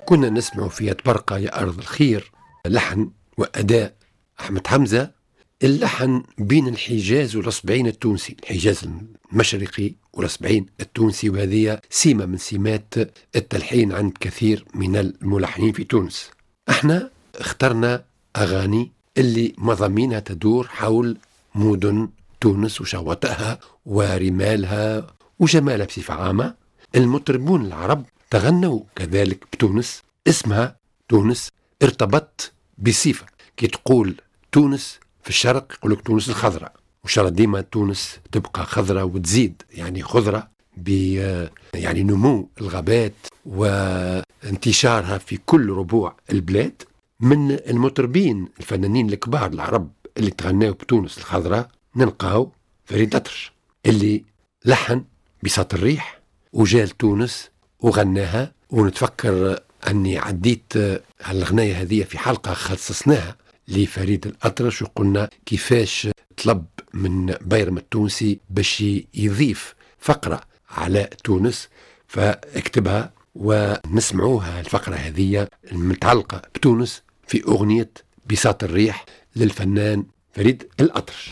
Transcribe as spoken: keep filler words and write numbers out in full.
كنا نسمع في طبرقة يا أرض الخير، لحن وأداء أحمد حمزة. اللحن بين الحجاز والأصبعين التونسي، الحجاز المشرقي والأصبعين التونسي، وهذه سمة من سمات التلحين عند كثير من الملحنين في تونس. احنا اخترنا أغاني اللي مضامينها تدور حول مدن تونس وشواطئها ورمالها وجمالها بصفة عامة. المطربون العرب تغنوا كذلك بتونس، اسمها تونس ارتبط بصفة. كي تقول تونس في الشرق يقول لك تونس الخضراء، وإن شاء الله ديما تونس تبقى خضراء وتزيد يعني خضرة ب يعني نمو الغابات وانتشارها في كل ربوع البلاد. من المطربين الفنانين الكبار العرب اللي تغناو بتونس الخضراء نلقاو فريد الأطرش اللي لحن بساط الريح وجا لتونس وغناها. ونتفكر أني عديت هالغناية هذه في حلقة خصصناها لفريد الأطرش، وقلنا كيفاش طلب من بيرم التونسي باش يضيف فقرة على تونس فاكتبها، ونسمعوها الفقرة هذه المتعلقة بتونس في أغنية بساط الريح للفنان فريد الأطرش.